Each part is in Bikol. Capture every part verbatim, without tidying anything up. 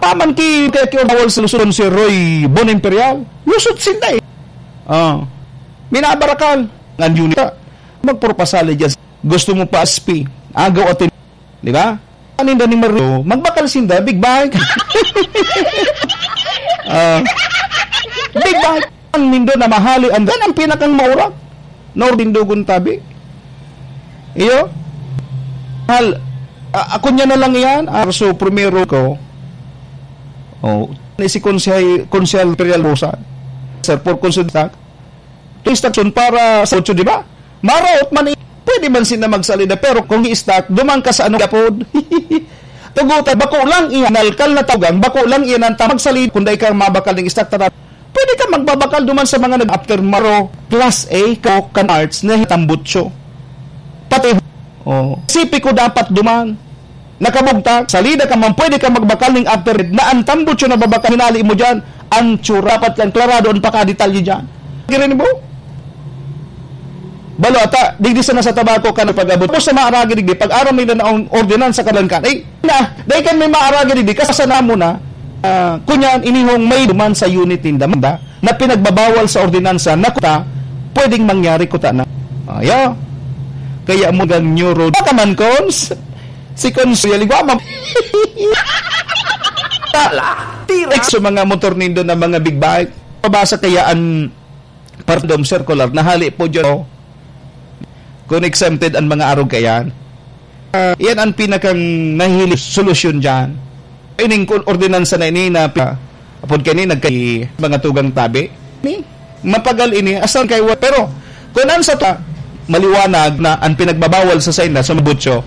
Paman ki, kaya ki bawal sa Luzon si Roy Bon Imperial. Lusot sinda eh. Ah. Minabarakal. Ngan yun ka. Magpropasali dyan. Gusto mo pa S P. Agaw atin. Di ba? Anin da ni Mario, magbakal sinda, big bike. Ah. Big bike. Ang nindo na mahali, ang, yan ang pinakang maurag. Nor tindugon tabi. Iyo? Hal, a-, ako niya na lang iyan. Arso, primero ko. Oh, ni si Konsehal, Konsehal Imperial Rosa. Sir, for consulta. Instruction para sa otso, di ba? Maraot man i-, pwede man sila magsalida, pero kung i-stock, duman ka sa ano, yapod. Tugutan, bako lang iyan, nalkal na tugang, bako lang iyan ang tamag salid, kung dai ka mabakal ng stock, tara. Pwede ka magbabakal duman sa mga nag-after maro, class A, Coke, kan arts, na tambutso. Pati, oh, sipi ko dapat duman. Nakabugtak, salida ka man, pwede ka magbakal ning after na ang tambutso na babakal, hinali mo dyan, ang tsura, dapat lang klarado ang pakadetalye dyan. Kirinig mo? Balo ata, digdi sana sa tabako ka nagpag-abot. Tapos sa maaragi digdi, pag aram nila na ang ordinansa kalan ka, eh, na, dahil kan may maaragi digdi, kasasana mo na, ah, kunyan, inihong may duman sa unit ninda, na pinagbabawal sa ordinansa na kuta, pwedeng mangyari kuta na. Ayo. Kaya mo gang neuro. Baka man, Cons, si Cons, yaligwa, mam-, Tala, tira. Sa mga motor nindo na mga big bike, pabasa kaya an Pardom Circular, nahali po dyan, oh. Kung exempted ang mga arog kayan. Ah, yan ang pinakang nahihili solusyon dyan. Ining kun-, ordinansa na ini na pi-, apod kani nagkay mga tugang tabi. Ni, mapagal ini, asan kay wa-, pero kung ang sa ta, maliwanag na ang pinagbabawal sa sainda sa mabutso,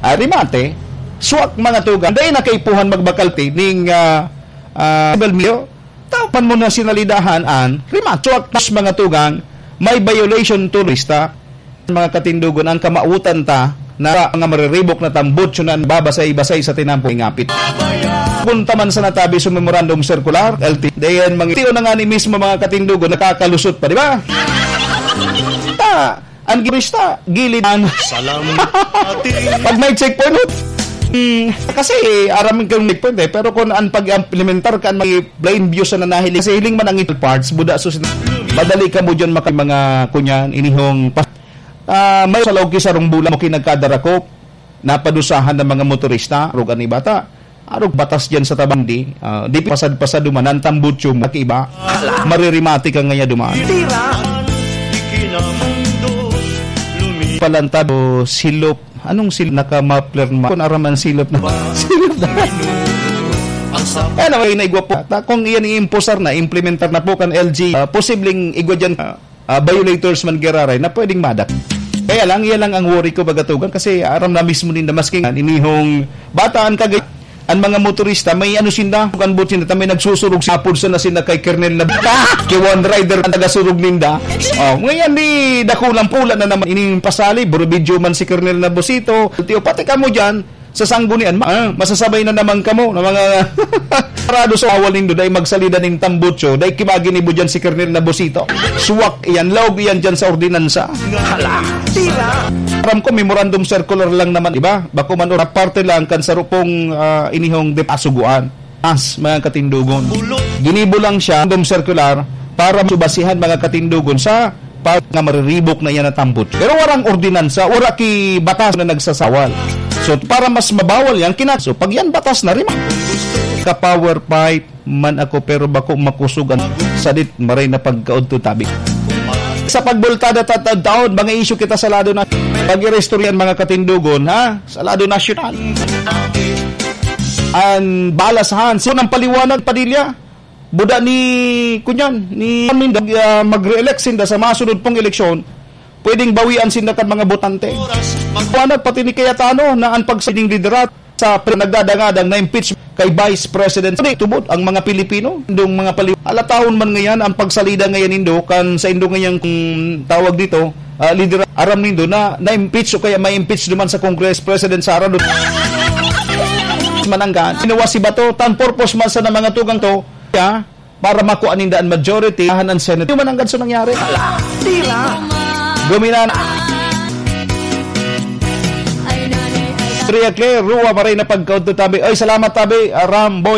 ah, remate, suwak mga tugang, dahil na kaipuhan magbakalti ning, ah, ah, Bel Mio, Tapan mo na sinalidahan an rimacho at mas mga tugang, may violation turista. Mga katindugon, ang kamautan ta na mga mariribok na tambutso na babasay-basay sa tinampo ngapit. Punta man sa natabi sa memorandum circular, L T, dayan mga tiyo na nga ni mismo mga katindugon, nakakalusot pa, di ba? Ta, Ang turista, gilid an. Salamat. Pag may checkpoint, hmm, kasi aram kang checkpoint eh, pero kung an pag-implementar kan may plain view sa nanahiling, kasi hiling man ang ital parts, buda sus, madali ka mo dyan maka-, mga kunyan, inihong pa-, ah, may sa laog ki sarong bulan mo kinagkadarakop, napadusahan ng mga motorista, arog an iba ta. Arog batas diyan sa tabang di, ah, di pasad-pasad duman, ang tambutso mo, kakiba, maririmati ka ngaya duman. Tira. Palantad o silop. Anong silop? Naka-muffler ma-, kung araman silop na. Silop na. Kaya naman, inaigwa po. Ta-, kung iyan i-imposar na, implementar na po kan L G, ah, posibleng igwa dyan, ah, ah, violators man giraray na pwedeng madak. Kaya lang, iyan lang ang worry ko, bagatugan, kasi aram na mismo ninda, maski nga, inihong bata an kagay-, an mga motorista, may ano sinda, kan boat sinda, may nagsusurog sa apod sa na sinda kay Kernel na kay one rider ang tagasurog ninda. Oh, ngayon, di dakulang pula na naman ining pasali, buro video man si Kernel na Bosito, tiyo, pati kamo dyan, sa sanggunian, ma-, ah, masasabay na naman kamo na mga parado sa awal nindo, dai magsalida ning tambutso, dai kimaginibo dyan si Kernel na Bosito. Suwak iyan, laog iyan dyan sa ordinansa. Hala, tira! Aram ko, memorandum circular lang naman, di ba? Bako man, ora parte lang kan sarupong, ah, inihong de pasuguan. As, mga katindugon. Ginibo lang siya, memorandum circular, para subasihan mga katindugon sa pa nga mariribok na iyan na tambot. Pero warang ordinansa, wara ki batas na nagsasawal. So, para mas mabawal yan, kina-, so, pag yan batas na rin, ka-power pipe man ako, pero bako makusog an sadit, maray na pagkaudto tabi. Sa pagbultada ta-, ta-, taon, mga isyu kita sa lado na pag-iristoryan mga katindugon, ha? Sa lado nasyonal. An balasahan, so, ng paliwanag, Padilla, Buda ni, kunyan, ni Minda, ah, mag-re-elect sinda sa masunod pong eleksyon, pwedeng bawian sinda kan mga botante. Magwanag pati ni Cayetano na an pagsining liderat sa pre-, nagdadangadang na impeach kay Vice President. Hindi, tubod ang mga Pilipino, indong mga pali-, alatahon man ngayon ang pagsalida ngayon nindo, kan sa indong ngayang, mm, tawag dito, ah, liderat, aram nindo na na-impeach o kaya may impeach naman sa Congress President Sara Duterte. Mananggan, ginawa si Bato, tan purpose man sa mga tugang to, ya, para makuha ninda an majority, tahan an Senate. Di man ang ganso nangyari. Tira! Guminan. Tria Claire, Rua, maray na pagkaudto tabi. Ay, salamat tabi, ah, Ramboy.